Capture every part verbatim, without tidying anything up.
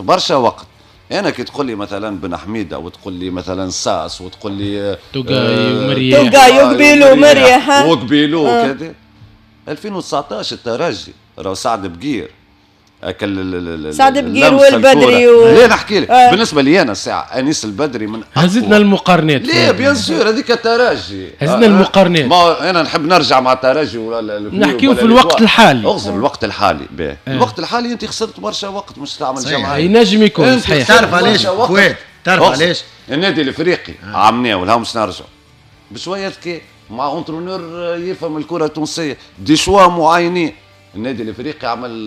برشا وقت. انا كي تقول لي مثلا بن حميده وتقول لي مثلا ساس وتقول لي توغاي ومرياح، توغاي وقبيلو ومرياح وقبيلو وكذا. ألفين وتسعطاش الترجي راهو سعد بقير اكل سعد بقير والبدري و... لا نحكي لك آه. بالنسبة لي انا الساعة انيس البدري من هزتنا المقارنات. لا bien sûr هذيك الترجي هزتنا آه. المقارنات. ما انا نحب نرجع مع الترجي ولا نحكيو في الوقت الحالي. اغزر الوقت الحالي باه. آه. الوقت الحالي انت خسرت برشا وقت مش تعمل جمعية. ينجم يكون صحيح. تعرف علاش فؤاد؟ تعرف علاش؟ النادي الافريقي آه. عمناه ولا مش نرجع بشوية ذكاء مع entraîneur يفهم الكره التونسية des choix معينين. النادي الافريقي عمل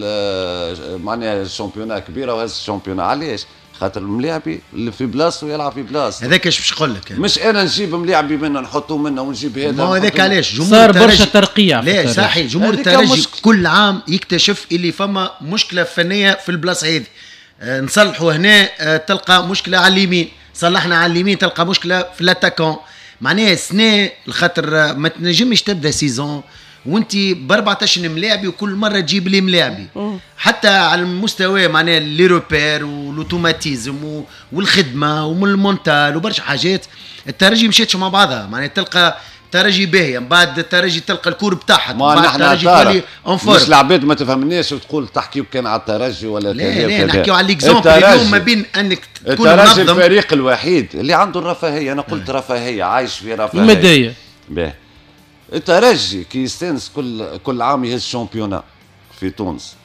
معناها championnat كبيرة وهز ال championnat. علاش؟ خاطر الملاعبي اللي في بلاصته يلعب في بلاصته. هذاك اش باش نقول لك، مش انا نجيب ملاعبي منه نحطه منه ونجيب هذا. ما هو هذاك علاش جمهور صار برشا ترقيع. لا صحيح، جمهور الترجي كل عام يكتشف اللي فما مشكلة فنية في البلاصة هذه. أه نصلحوا هنا أه تلقى مشكلة على اليمين، صلحنا على اليمين تلقى مشكلة في l'attaquant. معناها السنة الخاطر ما تنجمش تبدا saison وانت ب أربعطاش ملاعبي وكل مرة تجيب لي ملاعبي. حتى على المستوى معناها les repères وال automatismes والخدمة ومن ال mental وبرشا حاجات الترجي مشاتش مع بعضها. معناها تلقى ترجي باهيه من بعد الترجي تلقى ال courbe تاعها، ما نحن الترجي تولي en forme. مش العباد ما تفهمناش وتقول تحكيو كان على الترجي ولا لا. لا نحكيو على l'exemple اليوم ما بين انك تكون الترجي الفريق الوحيد اللي عنده الرفاهية. انا قلت رفاهية، عايش في رفاهية المادية. باهي الترجي كي يستانس كل كل عام يهز championnat في تونس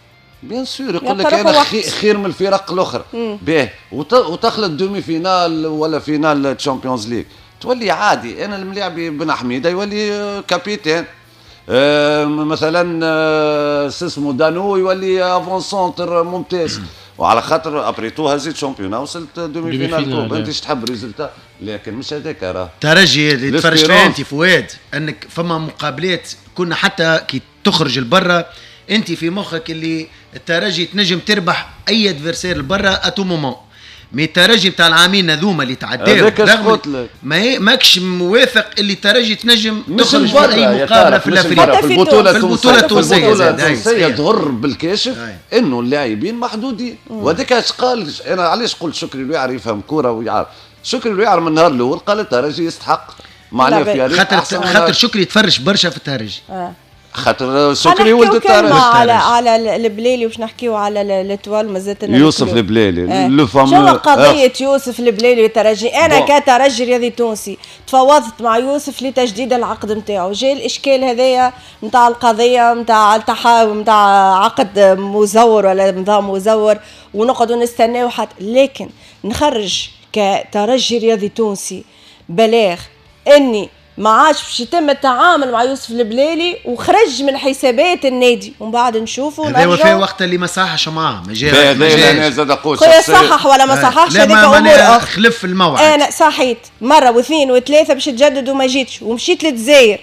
bien sûr يقول لك انا خير من الفرق الاخرى. باهي وتخلط demi-finale ولا finale Champions League تولي عادي. انا الملاعبي بن حميده يولي capitaine، آه مثلا آه اسمه دانو يولي avant-centre ممتاز. وعلى خاطر après tout هزيت championnat وصلت demi-finale coupe. انت ايش تحب résultat، لكن مش هذاك راه ترجي اللي تفرج فيها انت فؤاد. انك فما مقابلات كنا حتى كي تخرج لبرا انت في مخك اللي الترجي تنجم تربح اي adversaire لبرا à tout moment. mais الترجي نتاع العامين هذوما اللي تعداو رغم ما ماكش موافق اللي الترجي تنجم تخرج في اي مقابله في الافريقيا في البطولة التونسية. في البطولة التونسية تظهر بالكاشف انه اللاعبين محدودين. وهذاك اش قال. انا علاش قلت شكري الوعر يفهم كورة ويعرف. شكري الوعر من النهار الاول قال الترجي يستحق معناها في خاطر خاطر شكري يتفرج برشا في الترجي. آه. خاطر شكري ولد الترجي. على على البليلي وباش نحكيو على l'Étoile مازالت يوسف البليلي le fameux. شنو قضية يوسف البليلي والترجي؟ انا bon. كترجي رياضي تونسي تفاوضت مع يوسف لتجديد العقد نتاعو، جاء الاشكال هذايا نتاع القضية نتاع التحايل نتاع عقد مزور ولا نظام مزور ونقعدوا نستناو حتى، لكن نخرج كترجي رياضي تونسي بلاغ اني ما عادش باش يتم التعامل مع يوسف البلالي وخرج من حسابات النادي ومن بعد نشوفوا هذا وفاء وقت اللي ما صححش معاه ما جاء ما زاد خويا صحح ولا ما صححش هذيك امور اخرى. خلف الموعد. انا صحيت مرة واثنين وثلاثة باش تجدد وما جيتش ومشيت للجزائر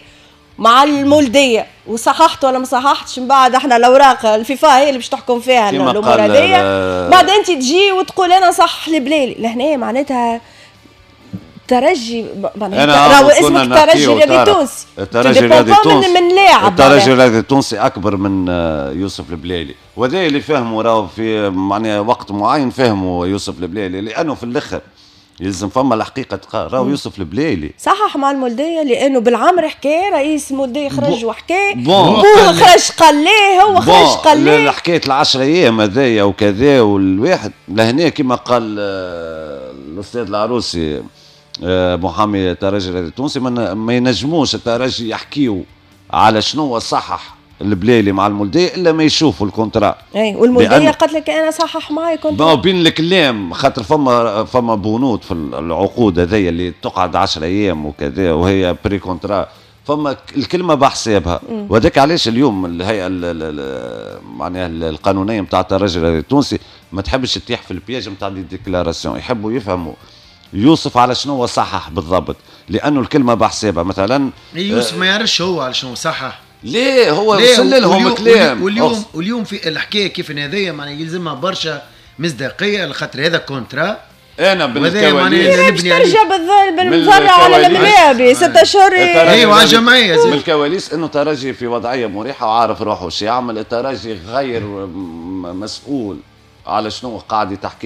مع المولديه وصححت ولا ما صححتش. من بعد احنا الاوراق الفيفا هي اللي باش تحكم فيها الامور هذيا. بعد انت تجي وتقول انا صح البلالي لهنا معناتها ترجي راهو اسمك ترجي رياضي تونسي. الترجي الرياضي التونسي من لاعب. الترجي الرياضي التونسي اكبر من يوسف البلالي، وهذا اللي فهموا راهو في معناها وقت معين فهموا يوسف البلالي، لانه في الاخر يلزم فما الحقيقة تقال. راهو يوسف البلالي صحح مع المولديه لانه بالعمر حكى رئيس المولديه خرج وحكى بوه خرج قال ليه هو خرج قال ليه حكاية العشر ايام هذايا وكذا والواحد لهنا كما قال الاستاذ العروسي محامي الترجي التونسي ما ينجموش الترجي يحكيو على شنو صحح البلالي مع المولديه الا ما يشوفوا ال contrat. اي والمولديه قالت لك انا صحح معايا contrat. بين الكلام خاطر فما فما بنود في العقود هذيا اللي تقعد عشرة ايام وكذا وهي pré-contrat، فما الكلمة بحسابها. وهذاك علاش اليوم الهيئة معناها القانونية نتاع الترجي التونسي ما تحبش تطيح في ال piège نتاع des déclarations، يحبوا يفهموا يوسف على شنو صحح بالضبط، لانه الكلمة بحسابها. مثلا يوسف ما يعرفش هو على شنو صحح. ليه هو وصل لهم كلام. واليوم واليوم في الحكاية كيف هذايا معناها يلزمها برشا مصداقية لخاطر هذا contrat. انا بالكواليس باش ترجع بالمضرة على الملاعب ستة اشهر. ايوه على الجمعية. من الكواليس انه ترجي في وضعية مريحه وعارف روحه شو يعمل. الترجي غير مسؤول على شنو قاعد تحكي.